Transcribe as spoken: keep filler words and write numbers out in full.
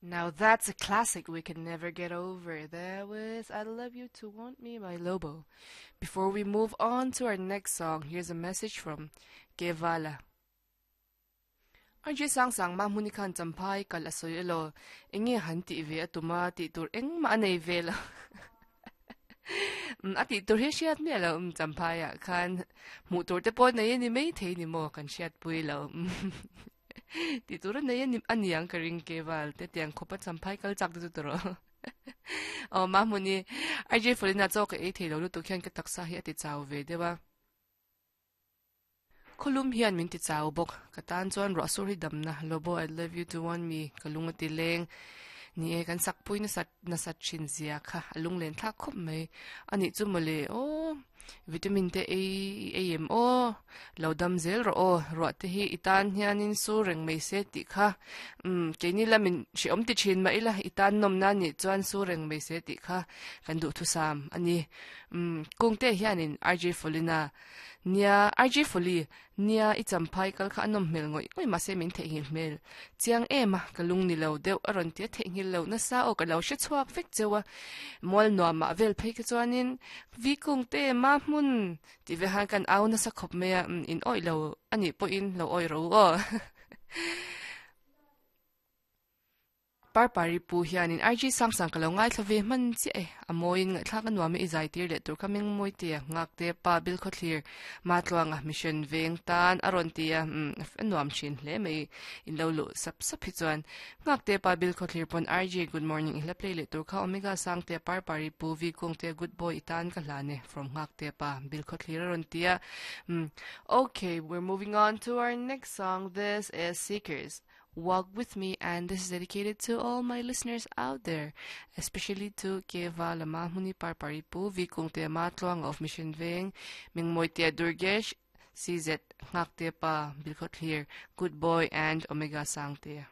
Now that's a classic we can never get over. There was I Love You to Want Me by Lobo. Before we move on to our next song, here's a message from Kevala. R J sang sang ma muni khan champhai kal asoi elo enge han ti ve atuma ti tur eng ma nei ve la a ti tur hi hriat mi lo um champhai ah khan hmuh tur te pawh nei ani mai thei ni maw kan hriat pui lo ti tur a nei ani aniang ka ring keval te tiang khawpa champhai kal chak te chu tawh aw ma hmuni R J Folina chaw ka ei thei lo lutuk hian ka taksa hi a ti chau ve deuh a khawlum hian min ti chau bawk ka tan chuan ruah sur hi damna. Lobo, "I Love You to Want Me" ka lung a ti leng ni e kan sak pui na sat na sat thin zia kha a lung len thlak khawp mai ani chu mawle aw vitamin te ei ei em aw lo dam zel rawh aw ruah te hi i tan hianin su reng mai se tih kha um keini lamin hreawm ti thin mah ila i tan nawm na nih chuan su reng mai se tih kha kan duh thusam ani um kungte hianin R J Folina nia R J Foli nia i champhai kal kha anom hmel ngoi ngoi ma se min the hi hmel chiang ema ka lung ni lo deuh aron tia the ngil lo na sa o ka lo hre chhuak vek chewa mol nuam ma vel phei ka chuanin vi kung te ma hmun ti ve han kan au na sa khop me in oi lo ani po in lo oi ro o par pari pu hianin R G sang sang ka lo ngai thlove man chi e amoin ngai thlak anuam i zai tir le tur kaming moi te ngak te pa bil kho thlir ma tluanga Mission Veng tan aron tia anuam thin hle mai in lo lu sap sap hi chuan ngak te pa bil kho thlir pon R J, good morning. I hla play le tur kha Omega sang te par pari pu vi kung te good boy itan ka hlane from ngak te pa bil kho thlir aron tia. Okay, we're moving on to our next song. This is Seekers, "Walk With Me," and this is dedicated to all my listeners out there, especially to Keva Lama Muni Parparipu, Vikung Te Matluang of Mission Veng, Mingmoitia Durgesh, C Z Ngakte Pa, Bilkot here, Good Boy, and Omega Sangte.